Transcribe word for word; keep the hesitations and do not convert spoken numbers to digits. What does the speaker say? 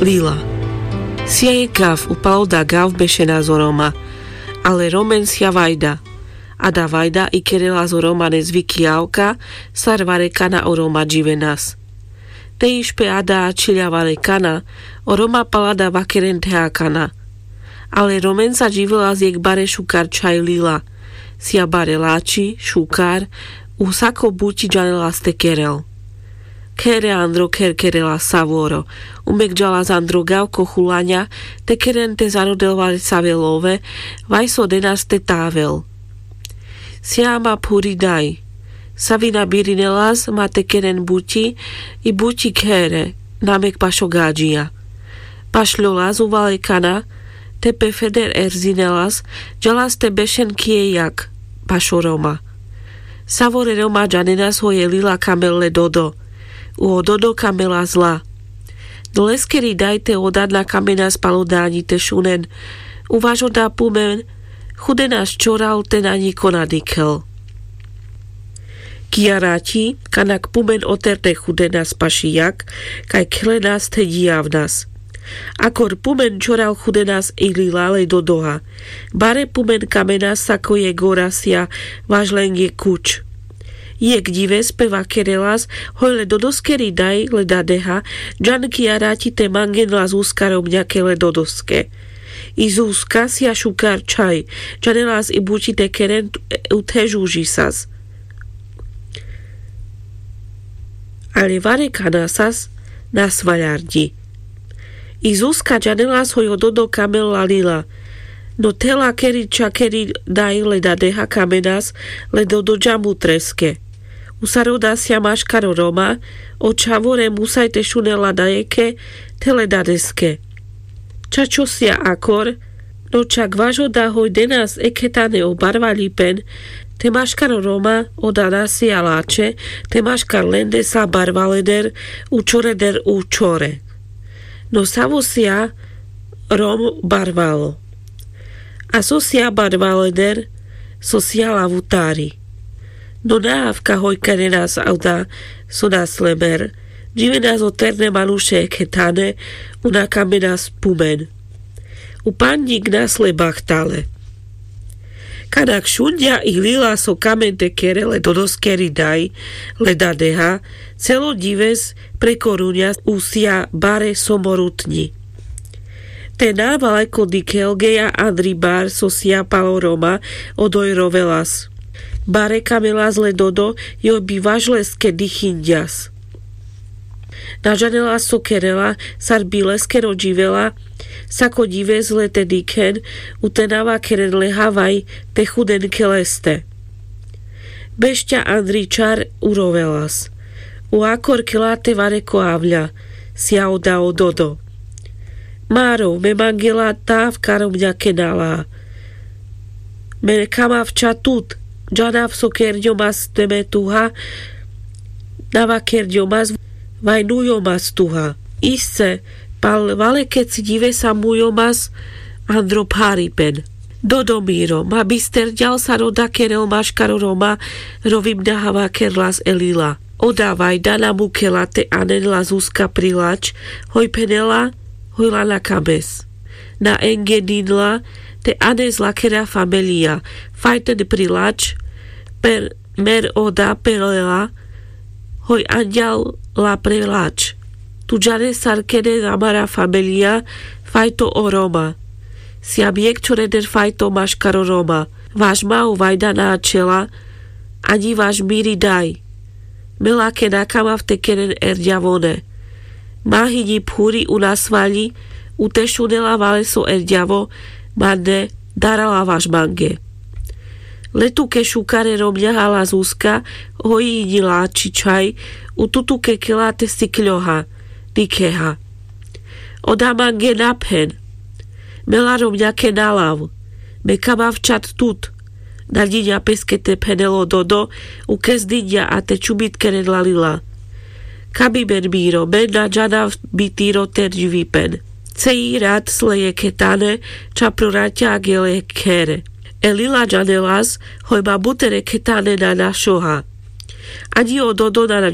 Lila. Sia jekh gav upal oda gav bešenas o roma. Ale romen sia vajda. Ada vajda i kerelas o romanes viki javka, sar varekana o roma dživenas. Te išpe ada ačhilľa varekana, o roma pal ada vakeren theakana. Ale romen sa dživelas jekh bare šukar čhaj lila. Sia bare lači šukar, u sako buči džanelas te kerel. Khere andro kher kerelas savoro. Umek džalas andro gav ko chulaňa, te keren te zarodel varesave love, vaj so denas te tavel. Sia ma phuri daj. Savina birinelas ma te keren buči, i buči khere, namek pašo gadžia. Pašľolas u varekana, te pe feder erzinelas, džalas te bešen kije jak, pašo roma. Savore roma džanenas hoj e lila kamel le dodo. U o dodo kamelas la. No leskeri daj te oda na kamenas pal oda aňi te šunen. U vaš oda pumen, chudenas čoral te na ňiko na dikhel. Kija raťi, kanak pumen oter te chudenas paši jak, kaj khlenas te džijavnas. Akor pumen čoral chudenas i lila le dodoha. Bare pumen kamenas sako jekh gora sia vaš lenge kuč. Jekh dives pe vakerelas, hoj le dodoskeri daj le dadeha, džan kija raťi te mangen la Zuzka romňake le dodoske. I Zuzka sia šukar čhaj, džanelas i buči te keren, u te žužisas. Ale varekanasas na svaľarďi. I Zuzka džanelas hoj o dodo kamel la lila. No te lakeri čakeri daj le dadeha kamenas le dodo dža mutreske. U sar oda sia maškar o roma, o čhavore musaj te šunel la dajekhe te le dadeske. Čačo sia akor, no čak vaš oda hoj denas ekhe tane o barvaľipen, te maškar o roma oda na sia lače, te maškar lende sa barvaleder, u čoreder u čore. No savo sia rom barvalo. A so sia barvaleder, so sia lavutari. No na avka hoj kerenas oda so na slemer, dživenas oter ne manuše ekhe tane, u na kamenas pumen. U pandžik na slebachtale. Kanak šunďa i lila so kamen te kere le dodoskeri daj, le dadeha, celo dives pre koruňa u sia bare somorutňi. Te na valeko dikhel geja andri bar so sia pal o roma, odoj rovelas. Bare kamelas le dodo, joj bi vaš leske dichinďas. Na džanelas so kerela, sar bi leskero dživela, sako dives le te dikhen, u te na vakeren le havaj, te chuden ke leste. Bešťa andri čar u rovelas. U akor kela te vareko avľa, sia oda o dodo. Maro, me mangela ta avka romňake na la. Me kamav ča tut, džanav so kerďomas te me tuha, na vakerďomas, vaj nujomas tuha. Isce, pal valekeci divesa mujomas andro pharipen. Dodo miro, ma bister ďal sar oda kerel maškar o roma, rovim na hava kerlas e lila. Oda vajda na mukela te anen la Zuzka pri lač, hoj phenela, hoj la na kames. Na enge ninla, te anes lakera famelija, fajten pri lač, per, mer oda pelela, hoj anďal la pre lač. Tu džanes sar kene amara famelija, fajto o roma. Siam jekh čoreder fajto maškar o roma. Vaš ma o vajda na ačhela, aňi vaš miri daj. Me lake na kamav te keren erďavone. Ma hinji phuri u na svaľi, u te šunela vale so erďavo, mande, darala vaš mange. Le tuke šukare romňaha la Zuzka, hoj hinji lači čhaj, u tutuke kela te sikľoha, dikheha. Oda mange na phen. Me la romňake na lav. Me kamav ča tut. Na ďiňa peske te phenel o dodo, u kes diňa a te čubit keren la lila. Kabi men miro, men na džanav bitiro te dživipen. Cei rat sle jekhe tane, ča pro raťa agele khere. E lila džanelas, hoj ma buter ekhe tane na našoha. Aňi o dodo na na